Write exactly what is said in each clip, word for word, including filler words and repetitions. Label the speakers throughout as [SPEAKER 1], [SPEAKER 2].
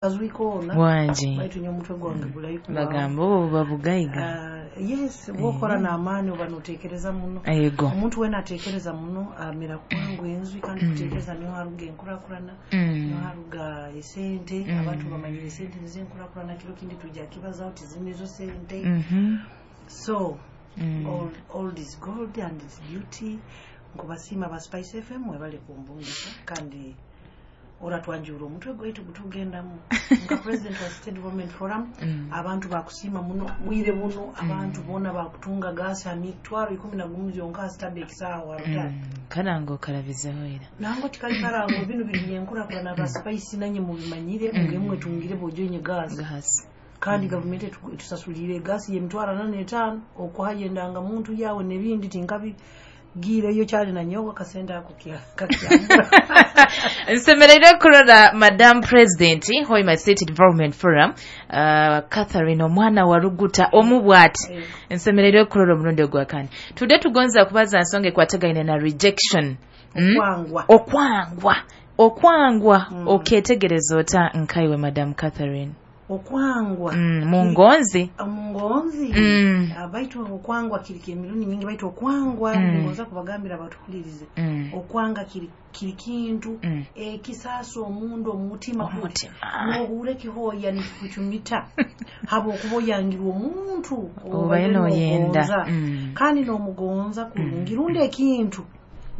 [SPEAKER 1] Azwikoona
[SPEAKER 2] Wangi.
[SPEAKER 1] Baitu nyo omutwe gwange gulayi.
[SPEAKER 2] Bagamba obo buba bugaiga.
[SPEAKER 1] Uh, yes, bwokora n'amaani oba noteekereza muno.
[SPEAKER 2] Ego.
[SPEAKER 1] Omuntu wena ateekereza muno amera kwangu enzwi, kandi kuteekereza niho haruga enkurakurana,
[SPEAKER 2] Mm.
[SPEAKER 1] niho haruga esente.
[SPEAKER 2] Mm.
[SPEAKER 1] Abantu bamanyire esente nizo enkurakurana. Kiro kindi tujja kibazaho tizinizo sente.
[SPEAKER 2] Mhm.
[SPEAKER 1] So
[SPEAKER 2] Mm.
[SPEAKER 1] all, all is gold and its beauty. Nkubasiima ba Spice F M, mwebale kumbungisa, kandi oratwanjura omutwe gwaitu gutugendamu nka president wa State Development Forum.
[SPEAKER 2] Mm.
[SPEAKER 1] Abantu bakusiima muno bwire buno, abantu boona bakutunga gasi amitwaro ikumi na gumu zyonka sitabba ekisaawa rutale.
[SPEAKER 2] Mm. Karango okarabizeho era.
[SPEAKER 1] Nango tikali karango, bino biri byenkurakurana. Ba Spice nanye mubimanyire, muge mwetungire bojoinye gasi.
[SPEAKER 2] Gasi.
[SPEAKER 1] Kandi gavumenti etu- etusasulire egasi yemitwaro ana n'etaano okuhayo endanga muntu yawe n'ebindi. Tinkabi giireyo kyali nanyowe akasente ako kya- kakyambura.
[SPEAKER 2] Nsemereire kurora Madam President Hoima City Development Forum, uh, Catherine omwana wa Ruguta omu bwati.
[SPEAKER 1] Eh.
[SPEAKER 2] Nsemereire kurora omulundi ogwakani tudde tugonza kubaza nsonga ekwatagaine na rejection. Mm?
[SPEAKER 1] Okwangwa.
[SPEAKER 2] Okwangwa, okwangwa.
[SPEAKER 1] Mm.
[SPEAKER 2] Oketegereza ota nkaiwe, Madam Catherine?
[SPEAKER 1] Okwangwa
[SPEAKER 2] mm, mungonzi.
[SPEAKER 1] Omungonzi.
[SPEAKER 2] Mm.
[SPEAKER 1] Ah, baitu okwangwa kiri emirundi nyingi, baitu okwangwa
[SPEAKER 2] Mm.
[SPEAKER 1] ngoza kubagambira abatuhulirize,
[SPEAKER 2] mm.
[SPEAKER 1] okwanga kiri kiri kintu
[SPEAKER 2] Mm.
[SPEAKER 1] ekisaasa omundu omutima.
[SPEAKER 2] Omutima.
[SPEAKER 1] Nohura ekihoya nikikucumita habwokuba oyangirwe omuntu
[SPEAKER 2] obaire noyenda.
[SPEAKER 1] nogonza.
[SPEAKER 2] Mm.
[SPEAKER 1] Kandi nomugonza kurungi, rundi ekintu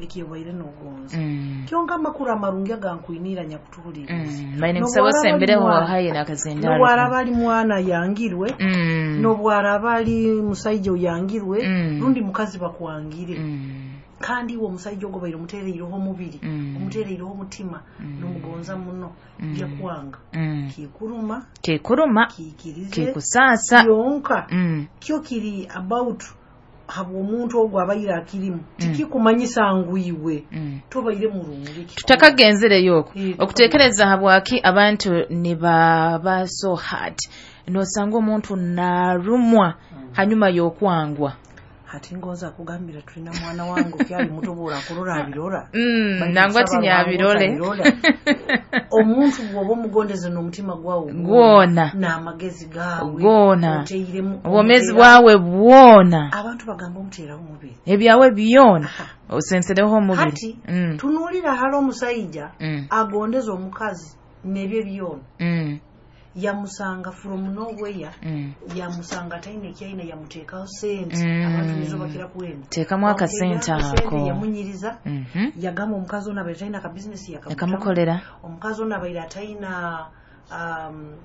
[SPEAKER 1] ekyobaire nogonza.
[SPEAKER 2] Mm.
[SPEAKER 1] Kyonka amakuru amarungi agankwinira nyakutuhuliriza,
[SPEAKER 2] Mm. Baine kusaba
[SPEAKER 1] Nobwaraba ali
[SPEAKER 2] osembereho
[SPEAKER 1] mwana-
[SPEAKER 2] hayi n'akazindalo.
[SPEAKER 1] nobwaraba ali mwana yangirwe,
[SPEAKER 2] Mm.
[SPEAKER 1] nobwaraba ali musaija oyangirwe,
[SPEAKER 2] Mm.
[SPEAKER 1] rundi mukazi bakwangire,
[SPEAKER 2] Mm.
[SPEAKER 1] kandi iwe omusaija ogwo baire omutereireho omubiri,
[SPEAKER 2] Mm.
[SPEAKER 1] omutereireho omutima,
[SPEAKER 2] Mm.
[SPEAKER 1] nomugonza muno,
[SPEAKER 2] Mm.
[SPEAKER 1] yakwanga,
[SPEAKER 2] Mm.
[SPEAKER 1] kikuruma,
[SPEAKER 2] kikuruma,
[SPEAKER 1] kiikirize,
[SPEAKER 2] kikusaasa.
[SPEAKER 1] Kyonka
[SPEAKER 2] Mm.
[SPEAKER 1] kyo kiri about habw'omuntu ogwo abaire akirimu, tikikumanyisa ngu iwe
[SPEAKER 2] Mm.
[SPEAKER 1] tobaire murungi.
[SPEAKER 2] Tutakagenzereyo okwo,
[SPEAKER 1] Eh,
[SPEAKER 2] okutekereza habwaki abantu nibaba so hard, nosanga omuntu narumwa hanyuma y'okwangwa.
[SPEAKER 1] Hati ngoza kugambira, tulina mwana wange okyali muto, bworakurora abirora.
[SPEAKER 2] Mm,
[SPEAKER 1] Baitu
[SPEAKER 2] nangwa
[SPEAKER 1] nsaba
[SPEAKER 2] tinyabirole.
[SPEAKER 1] Ruhanga otabirora. Omuntu bw'oba omugondeze n'omutima gwawe
[SPEAKER 2] Gwona.
[SPEAKER 1] n'amagezi gaawe
[SPEAKER 2] Gwona.
[SPEAKER 1] oteiremu
[SPEAKER 2] obwomeezi
[SPEAKER 1] omuteera-
[SPEAKER 2] bwawe bwona.
[SPEAKER 1] Abantu bagamba omuteeraho omubiri.
[SPEAKER 2] Ebyawe byona osensereho omubiri.
[SPEAKER 1] Hati
[SPEAKER 2] Mm,
[SPEAKER 1] tunuulira hali omusaija
[SPEAKER 2] mm,
[SPEAKER 1] agondeza omukazi nebyo byona,
[SPEAKER 2] mm,
[SPEAKER 1] yamusanga from nowhere,
[SPEAKER 2] mm.
[SPEAKER 1] yamusanga taina ekyaina, yamuteekaho sente.
[SPEAKER 2] Mm.
[SPEAKER 1] Abantu nizo bakira kwenda.
[SPEAKER 2] Teekamu akasente
[SPEAKER 1] Bamuteekaho
[SPEAKER 2] ako.
[SPEAKER 1] Yamunyiriza,
[SPEAKER 2] Mhm.
[SPEAKER 1] yagamba omukazi ono abaire talina kabizinesi, yakamutamu.
[SPEAKER 2] Yakamukolera.
[SPEAKER 1] Omukazi ono abaire atalina um,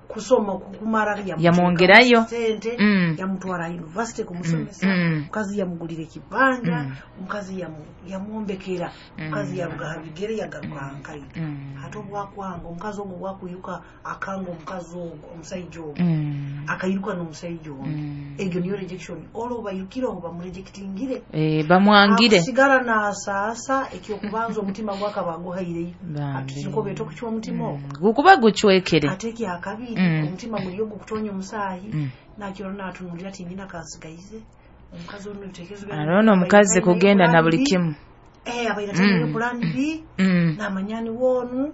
[SPEAKER 1] kusoma kumara,
[SPEAKER 2] Yamwongerayo.
[SPEAKER 1] sente,
[SPEAKER 2] Mm.
[SPEAKER 1] yamutwara university kumusomesa.
[SPEAKER 2] Mm, mm.
[SPEAKER 1] Omukazi yamugulira ekibanja,
[SPEAKER 2] Mm.
[SPEAKER 1] omukazi yamu- yamwombekera, omukazi yaruga ha bigere yagaruka ha nkaito.
[SPEAKER 2] Mm.
[SPEAKER 1] Ate obwakwanga omukazi ogwo, bwakwiruka akanga omukazi ogwo, omusaija ogwo,
[SPEAKER 2] Mm.
[SPEAKER 1] akairuka n'omusaija ondi.
[SPEAKER 2] Mm.
[SPEAKER 1] Egyo niyo rejection. Olwo bairukireho bamurejectingire,
[SPEAKER 2] Eh, bamwangire.
[SPEAKER 1] Akusigara nasaasa. Ekyokubanza, omutima gwakaba aguhaireyo.
[SPEAKER 2] Bambi.
[SPEAKER 1] Ati beeta okucwa omutima ogwo.
[SPEAKER 2] Gukuba gucwekere.
[SPEAKER 1] Ate ekyakabiri,
[SPEAKER 2] Mm.
[SPEAKER 1] omutima guliyo gukutonya omusaayi,
[SPEAKER 2] Mm.
[SPEAKER 1] nakiro natunulira ti nina kansigaize omukazi ono ebitekerezo byange.
[SPEAKER 2] Ate ono omukazi
[SPEAKER 1] Abaire
[SPEAKER 2] kugenda na
[SPEAKER 1] plan
[SPEAKER 2] buli
[SPEAKER 1] B.
[SPEAKER 2] kimu.
[SPEAKER 1] Eh, abaire atalinayo
[SPEAKER 2] Mm.
[SPEAKER 1] plan B,
[SPEAKER 2] Mm.
[SPEAKER 1] namanya ni woonu.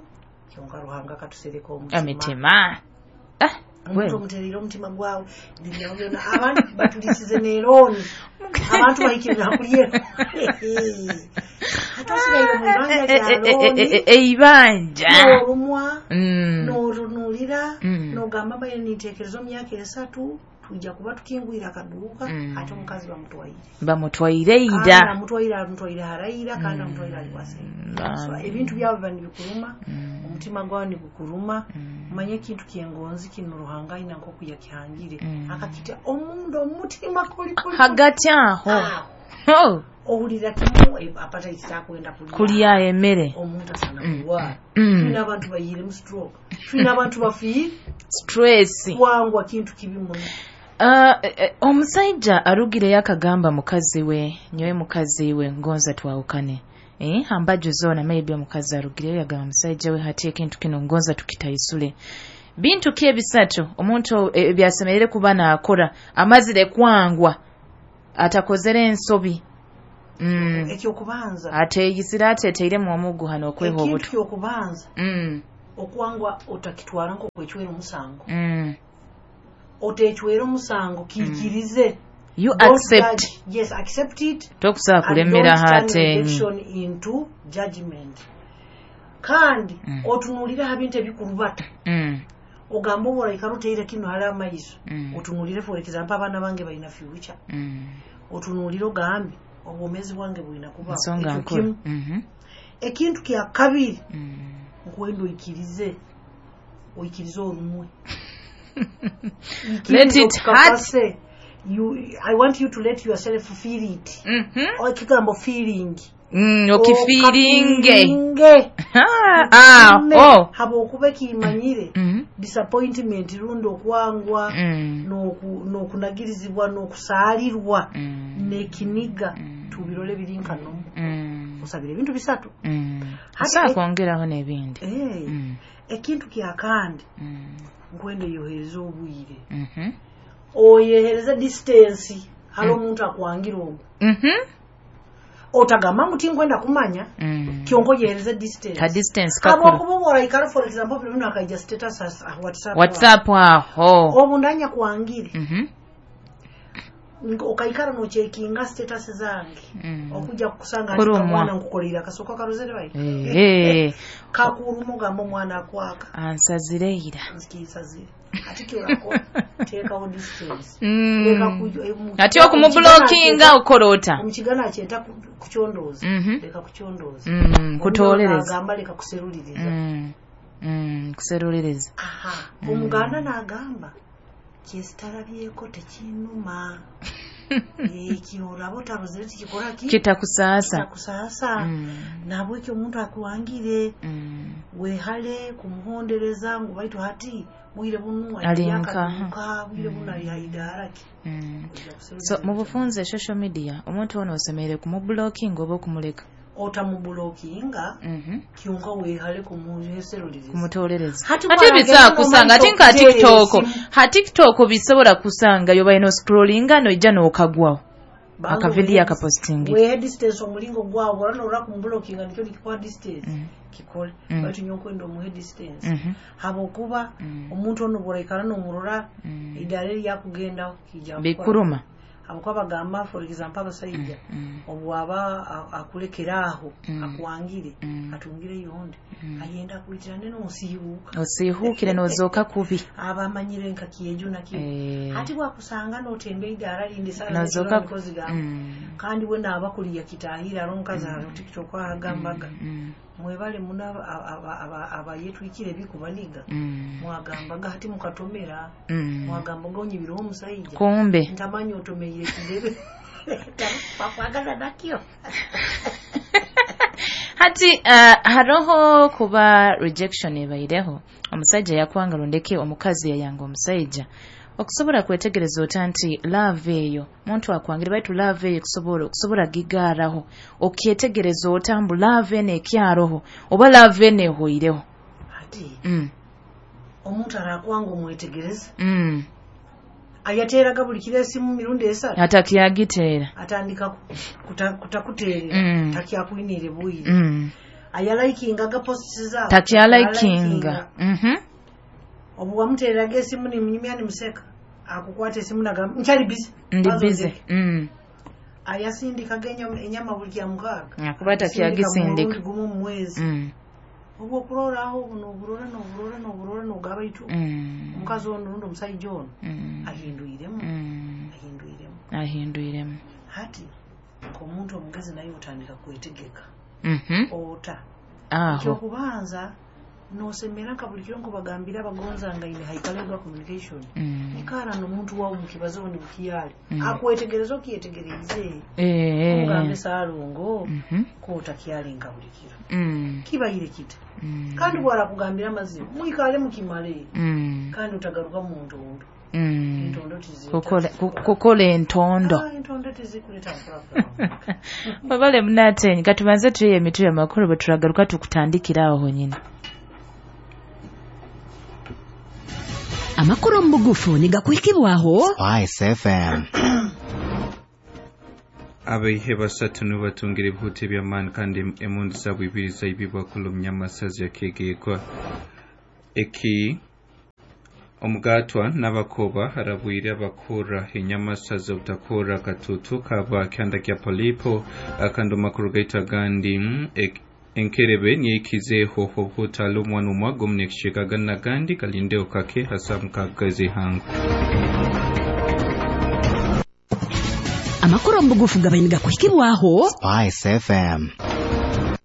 [SPEAKER 1] Kyonka Ruhanga katusereka omutima.
[SPEAKER 2] Emitima. Ah,
[SPEAKER 1] Omuntu
[SPEAKER 2] well.
[SPEAKER 1] omutereire omutima gwawe nebyawe byona, abantu batulisize nerooni, abantu bahikirira kulye, ate osigaire mu ibanja
[SPEAKER 2] Eh, eh,
[SPEAKER 1] lya
[SPEAKER 2] eh, eh,
[SPEAKER 1] looni.
[SPEAKER 2] eh, eibanja.
[SPEAKER 1] N'olumwa,
[SPEAKER 2] Mm.
[SPEAKER 1] n'otunulira,
[SPEAKER 2] Mm.
[SPEAKER 1] n'ogamba mbaire ninteekereza omu myaka esatu tujja kuba tukingwire akaduuka,
[SPEAKER 2] Mm.
[SPEAKER 1] ate omukazi bamutwaire.
[SPEAKER 2] Bamutwaire
[SPEAKER 1] Kandi
[SPEAKER 2] ida.
[SPEAKER 1] amutwaire, amutwaire haraira, kandi amutwaire ali wasente. So
[SPEAKER 2] Bambi.
[SPEAKER 1] ebintu byawe biba nibikuruma,
[SPEAKER 2] Mm.
[SPEAKER 1] omutima gwawe nigukuruma.
[SPEAKER 2] Mm.
[SPEAKER 1] Omanye ekintu kyengonzi kino Ruhanga ayina nkoku yakihangire,
[SPEAKER 2] Mm.
[SPEAKER 1] akakita omunda omutima koli koli
[SPEAKER 2] Hagati aho.
[SPEAKER 1] Aho.
[SPEAKER 2] Oh,
[SPEAKER 1] Owulira kimu, eh, appetite takwenda kulya.
[SPEAKER 2] Kulya emmere.
[SPEAKER 1] Omuntu asana kulwala.
[SPEAKER 2] Mm.
[SPEAKER 1] Tulina abantu bayiiremu stroke, tulina abantu bafiire.
[SPEAKER 2] Stress.
[SPEAKER 1] Kwangwa kintu kibi muno.
[SPEAKER 2] Ah, eh, eh, omusajja arugireyo akagamba mukazi we, nyowe mukazi we ngonza twawukane. Eh, hambaju zoona maybe omukazi arugireyo yagamba musajja we, hati ekintu kino ngonza tukitaisule. Bintu ki ebisatu omuntu eh, byasemerere kuba naakora amazire kwangwa atakozere ensobi? Mm.
[SPEAKER 1] Ekyokubanza,
[SPEAKER 2] Ateeyisire ateeteiremu omuguha n'okweha
[SPEAKER 1] ekintu
[SPEAKER 2] obutu.
[SPEAKER 1] kyokubanza,
[SPEAKER 2] Mm.
[SPEAKER 1] Okwangwa otakitwara nk'okwecwera omusango.
[SPEAKER 2] Mm.
[SPEAKER 1] Otecwera omusango kikirize.
[SPEAKER 2] Mm. You
[SPEAKER 1] Don't
[SPEAKER 2] accept.
[SPEAKER 1] Judge. Yes, accept it.
[SPEAKER 2] Tokusobola
[SPEAKER 1] And
[SPEAKER 2] kulemera
[SPEAKER 1] don't turn
[SPEAKER 2] hatenyi.
[SPEAKER 1] rejection into judgment. Kandi
[SPEAKER 2] Mm.
[SPEAKER 1] otunuulire ha bintu ebikurubata.
[SPEAKER 2] Mm.
[SPEAKER 1] Ogamba oboraikara oteire kino hali amaiso.
[SPEAKER 2] Mm.
[SPEAKER 1] Otunuulire, for example, abaana bange balina future.
[SPEAKER 2] Mm.
[SPEAKER 1] Otunuulire ogambe obwomeezi bwange bulina kuba
[SPEAKER 2] Nsonga
[SPEAKER 1] ekyo
[SPEAKER 2] nkulu.
[SPEAKER 1] kimu.
[SPEAKER 2] Mhm.
[SPEAKER 1] Ekintu kya kabiri,
[SPEAKER 2] Mm.
[SPEAKER 1] nkwenda oikirize, oikirize olumwe.
[SPEAKER 2] Let it hurt.
[SPEAKER 1] Okakase. You, I want you to let yourself feel it.
[SPEAKER 2] Mhm.
[SPEAKER 1] Ekigambo feeling.
[SPEAKER 2] Mm, okifiiringe.
[SPEAKER 1] Okafiiringe.
[SPEAKER 2] Ah,
[SPEAKER 1] Mme,
[SPEAKER 2] oh.
[SPEAKER 1] habwokuba ekimanyire
[SPEAKER 2] Mhm.
[SPEAKER 1] disappointment rundi okwangwa
[SPEAKER 2] Mm.
[SPEAKER 1] n'oku- n'okunagirizibwa n'okusaalirwa
[SPEAKER 2] Mm.
[SPEAKER 1] n'ekiniga tubirole biri nkanomu.
[SPEAKER 2] Mm.
[SPEAKER 1] Osabira ebintu bisatu.
[SPEAKER 2] Mm.
[SPEAKER 1] Hati
[SPEAKER 2] Osobola
[SPEAKER 1] e-
[SPEAKER 2] kwongeraho n'ebindi.
[SPEAKER 1] Eh,
[SPEAKER 2] Mm.
[SPEAKER 1] ekintu kyakandi,
[SPEAKER 2] Mm.
[SPEAKER 1] nkwenda oyohereze obwire,
[SPEAKER 2] Mhm.
[SPEAKER 1] oyehereze distance hali omuntu akwangira ogwo.
[SPEAKER 2] Mhm.
[SPEAKER 1] Otagamba ngu tinkwenda kumanya,
[SPEAKER 2] Mm.
[SPEAKER 1] kyonka oyehereze distance.
[SPEAKER 2] Ka distance kakuru.
[SPEAKER 1] Habwokuba oba oraikara, for example, buli bino akaija status as- ah, WhatsApp.
[SPEAKER 2] WhatsApp aho.
[SPEAKER 1] Obundanya kwangire,
[SPEAKER 2] Mhm.
[SPEAKER 1] Nga okaikara nochekinga status zange,
[SPEAKER 2] Mm.
[SPEAKER 1] okujja kukusanga
[SPEAKER 2] Kurumwa.
[SPEAKER 1] mwana nkukolera akasooka karozere bai
[SPEAKER 2] Eh.
[SPEAKER 1] kakuruma, ogamba omwana akwaka.
[SPEAKER 2] Ansazireira.
[SPEAKER 1] Nkinsazire ati kyorakora, teekawo distance.
[SPEAKER 2] Mm.
[SPEAKER 1] Leka ku- eh, mu-
[SPEAKER 2] Ati okumublokinga okola ota?
[SPEAKER 1] Omukigana akyeta ku- kukyondooza.
[SPEAKER 2] Mhm.
[SPEAKER 1] Leka kukyondooza.
[SPEAKER 2] Mm, kutolereza.
[SPEAKER 1] Agamba leka kuseruliriza.
[SPEAKER 2] Mm. Mm, kuseruliriza.
[SPEAKER 1] Aha, omuganda n'agamba kyesitalabyeko tekinuma. Ekyo olaba otarozere tikikora ki?
[SPEAKER 2] Kitakusaasa.
[SPEAKER 1] Kitakusaasa.
[SPEAKER 2] Mm.
[SPEAKER 1] Nabwekyo omuntu akuwangire,
[SPEAKER 2] Mm.
[SPEAKER 1] wehale kumuhondereza ngu baitu hati bwire bunu
[SPEAKER 2] Ali nkaha.
[SPEAKER 1] akaduka bwire bunu ali haidaaraki.
[SPEAKER 2] Mm. So mu bufunze social media omuntu ono osemereire kumublokinga oba okumuleka?
[SPEAKER 1] Otamubulokinga,
[SPEAKER 2] Mhm.
[SPEAKER 1] kyonka wehale kumuheseruliriza.
[SPEAKER 2] Kumutolereza.
[SPEAKER 1] Hati
[SPEAKER 2] Ate
[SPEAKER 1] bw'agenda
[SPEAKER 2] bisobola kusanga ate nka
[SPEAKER 1] n'omanyisa
[SPEAKER 2] TikTok.
[SPEAKER 1] okuteera esimu.
[SPEAKER 2] Ha, TikTok bisobola kusanga yoba ino scrollinga noija n'okagwaho.
[SPEAKER 1] Banza
[SPEAKER 2] Akavidiyo
[SPEAKER 1] wehe-
[SPEAKER 2] akapostingi.
[SPEAKER 1] Wehe distance omulingo gwawe ora norora kumubulokinga nikyo nikikuha distance, kikole.
[SPEAKER 2] Mm.
[SPEAKER 1] Baitu nyokwenda omuhe distance,
[SPEAKER 2] Mhm.
[SPEAKER 1] habwokuba
[SPEAKER 2] Mm.
[SPEAKER 1] omuntu ono bworaikara nomurora,
[SPEAKER 2] Mm.
[SPEAKER 1] idaara eryakugendaho kijja kukora.
[SPEAKER 2] Bikuruma.
[SPEAKER 1] Habwokuba bagamba, for example, abasaija
[SPEAKER 2] Mm.
[SPEAKER 1] obwaba a- akulekera aho,
[SPEAKER 2] Mm.
[SPEAKER 1] akwangire,
[SPEAKER 2] Mm.
[SPEAKER 1] atungire yondi, ayenda akwitirane nonsiibuuka.
[SPEAKER 2] Osiihuukire n'ozooka kubi.
[SPEAKER 1] Aba amanyire nka kyejo nakyo.
[SPEAKER 2] Eh.
[SPEAKER 1] Ati bwakusanga notemba eidaara lindi
[SPEAKER 2] N'ozooka
[SPEAKER 1] mikozi gamu.
[SPEAKER 2] Mm.
[SPEAKER 1] Kandi we naaba kuliya kitahira ari omukazi mm. TikTok agambaga,
[SPEAKER 2] Mm.
[SPEAKER 1] mwebale muno abayetwikire ebikubaniga.
[SPEAKER 2] Mm.
[SPEAKER 1] Mwagambaga hati mukatomera,
[SPEAKER 2] Mm.
[SPEAKER 1] mwagambaga onyibireho omusaija.
[SPEAKER 2] Kumbe.
[SPEAKER 1] Ntamanyi otomeire kidebe bakwagala nakyo.
[SPEAKER 2] Hati uh, haroho kuba rejection ebaireho, omusajja yakwanga rundeke omukazi yayanga omusajja. Okusobola kwetegereza ota nti love eyo muntu akwangire, baitu love eyo kusobola okusobola gigaaraho, okyetegereza ota mbu love eno ekyaroho oba love eno ehoireho?
[SPEAKER 1] Hati
[SPEAKER 2] mm.
[SPEAKER 1] omuntu arakwanga omwetegereza.
[SPEAKER 2] Mm.
[SPEAKER 1] Ayateeraga buli kiro esimu mirundi esatu.
[SPEAKER 2] Atakyagiteera.
[SPEAKER 1] Atandika kuta- kutakuteerera.
[SPEAKER 2] Mm.
[SPEAKER 1] Takyakwiniire bwire.
[SPEAKER 2] mm.
[SPEAKER 1] Ayalaikingaga posts zaabo.
[SPEAKER 2] Takyalaikinga. Mhm.
[SPEAKER 1] Obu wamuteereraga esimu nimunyumya nimuseka, akukwata esimu nagamba nkyali busy.
[SPEAKER 2] Ndi
[SPEAKER 1] Banza
[SPEAKER 2] busy.
[SPEAKER 1] ondeke.
[SPEAKER 2] Mm.
[SPEAKER 1] Ayasindikaga enyama- enyama buli kya mukaaga.
[SPEAKER 2] Akuba takyagisindika.
[SPEAKER 1] Mulundi gumu mu mwezi.
[SPEAKER 2] Mm.
[SPEAKER 1] Obu okuroraho noburora noburora noburora nogaba itu
[SPEAKER 2] Mm.
[SPEAKER 1] omukazi ono rundi omusaija ono
[SPEAKER 2] Mm.
[SPEAKER 1] ahindwiremu.
[SPEAKER 2] Mm.
[SPEAKER 1] Ahindwiremu.
[SPEAKER 2] Ahindwiremu.
[SPEAKER 1] Hati omuntu omugezi naye otandika kwetegeka.
[SPEAKER 2] Mhm.
[SPEAKER 1] Ota
[SPEAKER 2] aho
[SPEAKER 1] ekyokubanza nosemera nka buli kiro nkubagambira abagonzangaine haikalegwa communication.
[SPEAKER 2] Mm.
[SPEAKER 1] Ikara nomuntu wawe mukibazo ni bukiyali,
[SPEAKER 2] Mm.
[SPEAKER 1] akwetegereza okyetegereze,
[SPEAKER 2] Eh.
[SPEAKER 1] omugambe saalongo,
[SPEAKER 2] Mhm.
[SPEAKER 1] kotakyalinka nka buli kiro,
[SPEAKER 2] Mm.
[SPEAKER 1] kibayire kita.
[SPEAKER 2] Mm.
[SPEAKER 1] Kandi bwarakugambira amazima mwikale mukimale.
[SPEAKER 2] Mm.
[SPEAKER 1] Kandi utagaruka mu ntondo.
[SPEAKER 2] Mm.
[SPEAKER 1] Entondo tizita.
[SPEAKER 2] Kukola ku- kukola entondo.
[SPEAKER 1] Ah, entondo tizikuleta nkulakula.
[SPEAKER 2] Babale munatenyi, katubanze tuye emitwe y'amakulu, bwe turagaruka tukutandikira aho honyine.
[SPEAKER 3] Amakuru mu bugufu nigakwikibwaho
[SPEAKER 4] Spice F M.
[SPEAKER 5] Abaihe basatu nibatungira ebihuta eby'amaani kandi emundu zaabwe ibiri zaibibwa kulumya amasazi yakegeekwa. Eki omugatwa n'abakoba harabwire abakora enyamasa z'obutakora katutu kaba kyanda kya polipo. Kandi amakuru gaitu agandi, enkerebe niyikizeho obutalo omwana omwago omunekishika gandi kalindeo kake hasa mukagazi hangu.
[SPEAKER 3] Amakuru omubugufu gabainiga kuhikibwaho
[SPEAKER 4] Spice F M.